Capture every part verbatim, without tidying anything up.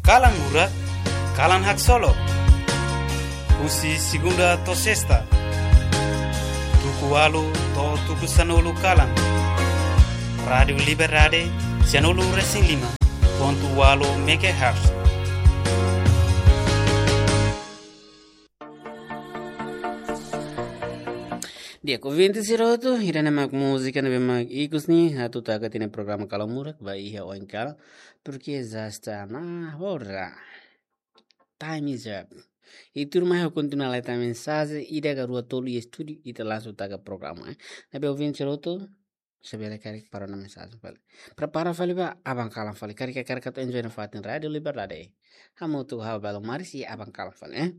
Kalan Murak, kalan haksolok. Husi segunda to'o sesta, tuku ualu to'o tuku sanulu kalan. Rádiu Liberdade, sanulu resin lima pontu ualu megahertz. Di'ak, ouvinte sira hotu, ida-ne'e mak múzika ne'ebé mak ikus ne'e atu taka tiha ona programa Kalan Murak ba iha oin kalan, porque já está na hora. Time is up. I tuirmai ha'u kontinua leta mensajen, ida ka rua tolu iha estúdiu, ita langsung taka programa, eh. Ne'ebé ouvinte sira hotu, se bele karik para ona mensajen fali. Prepara fali ba aban kalan fali. Karik, karik atu enjoy nafatin Rádiu Liberdade. Hamutuk ho ha'u Belo Maris iha aban kalan fali, eh.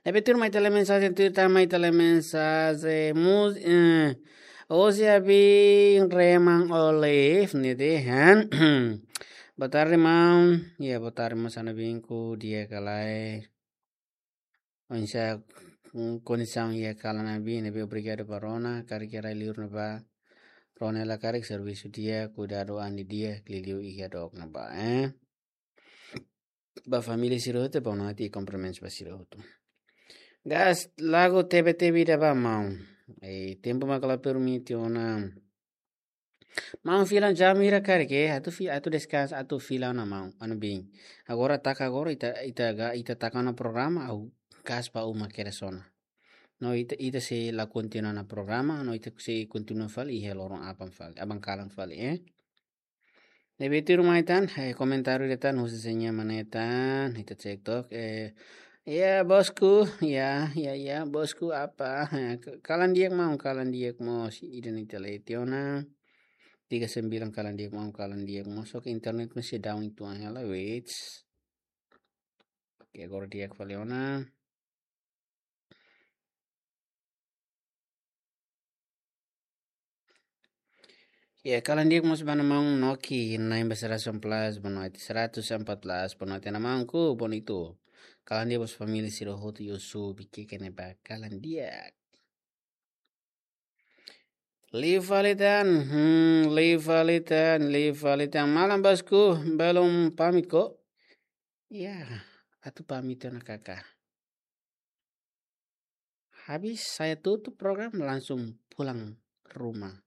Ne'ebé tuirmai tiha lai mensajen, tuirmai tiha lai mensajen. Mus-, eh, Osi abi Reman Olive ne'e dehan. Boa tarde, maun. Ya, boa tarde, maun, sá ne'ebé, di'ak ka lae? Oinsá, mm, kondisaun iha kalan ne'ebé, ne'ebé obrigadu ba rona, karik iha rai-liur ne'ebá. Rona hela karik servisu di'ak, kuidadu an di'ak, liuliu iha dook ne'ebá, eh. Ba família sira hotu, boa noite i kumprimentus ba sira hotu. Gas lagu tebe-tebe ida ba maun. Eh, tempu mak la permite ona. Maun fila jam hira karik, atu fi-, atu deskansa, atu fila ona maun, anu bin. Agora taka agora, ita, ita ga, ita taka ona programa, ha'u gas ba uma kedas ona. No ita, ita sei la kontinua ona programa, no ita sei kontinua fali, iha loron aban fali, aban kalan fali, eh. Ne'ebé tuirmai tan, eh, komentáriu ida tan, husi Seña Mane tan, ita cek tok, eh, ya, bosku, ya, ya, ya, bosku apa? Eh, k-, kalan di'ak maun, kalan di'ak mós, ida-ne'e ita lee tiha ona. Tiga sembilan kalan di'ak maun, kalan di'ak mós, só ke internet masih down uitoan hela, wait. Oke, agora di'ak fali ona. Ya, kalan di'ak mós ba maun Noki, na'in ba seratus plus, boa noite, seratus empat belas, boa noite, maun, ku bonitu. Kalan di'ak mós família sira hotu, Yosu, bike kene ba, kalan di'ak. Liu fali tan, hmm, liu fali tan, liu fali tan. Malam bosku, belum pamit ko? Ya, atu pamit ona karik. Habis saya tutup program, langsung pulang rumah.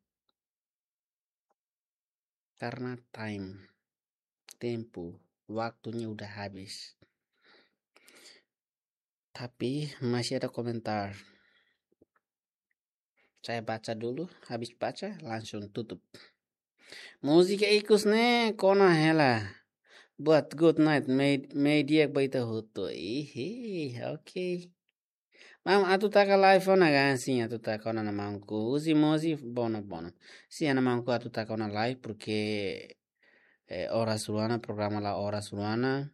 Karena time, tempu, waktunya udah habis. Tapi masih ada komentar. Saya baca dulu, habis baca langsung tutup. Múzika ikus ne'e kona hela. Buat good night, mei, mei di'ak ba ita hotu. Ihi, oke. Maun, atu taka live ona ka? Sin, atu taka ona, maun, ku. Husi Mosi, bono, bono. Sin, maun, ku, atu taka ona live, porque, eh, oras rua ona, programa la oras rua ona.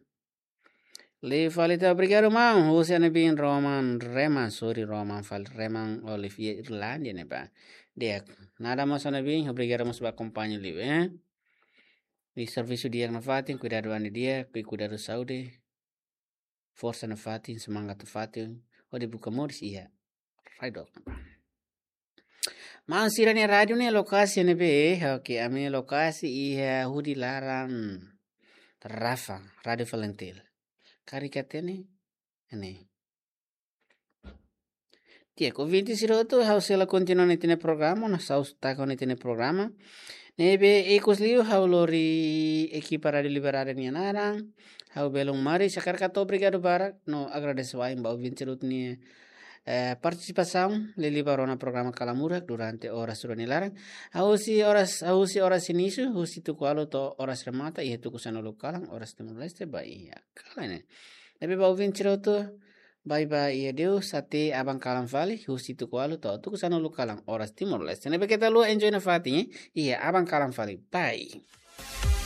Liu fali tan, obrigadu, maun. Husi ami-nia bin Roman, Reman, sorry, Roman fali, Reman Olive, Irlanda ne'ebá. Di'ak, nada mós ami-nia bin, obrigadu mós ba akompaña liu, eh. I servisu di'ak nafatin, kuidadu an di'ak, kui kuidadu saúde. Forsa nafatin, semangat nafatin, hodi buka moris iha rai-dook. Maun, sira-nia rádiu ne'e lokasi ne'ebé, oke, ami-nia lokasi iha hudi laran Rafa, Rádiu Falintil. Karik hatene, ne'e. Di'ak, ouvinte sira hotu, ha'u sei la kontinua ona ita-nia programa, no ha'u sei taka ona ita-nia programa. Ne'ebé ikus liu ha'u lori ekipa Rádiu Liberdade nia naran, ha'u Belo Maris, hakarak hato'o obrigadu barak, no agradese wa'in ba ouvinte sira hotu nia, eh, partisipasaun, liuliu ba rona programa Kalan Murak durante oras rua nia laran. Ha'u husi oras, ha'u husi oras inísiu, husi tuku ualu to'o oras remata, iha tuku sanulu kalan, oras Timor-Leste, ba iha kalan ne'e. Ne'ebé ba ouvinte sira hotu, bye bye, i adeus, até aban kalan fali, husi tuku ualu to'o tuku sanulu kalan, oras Timor-Leste. Ne'ebé keta haluha enjoy nafatin, eh? Iha aban kalan fali. Bye.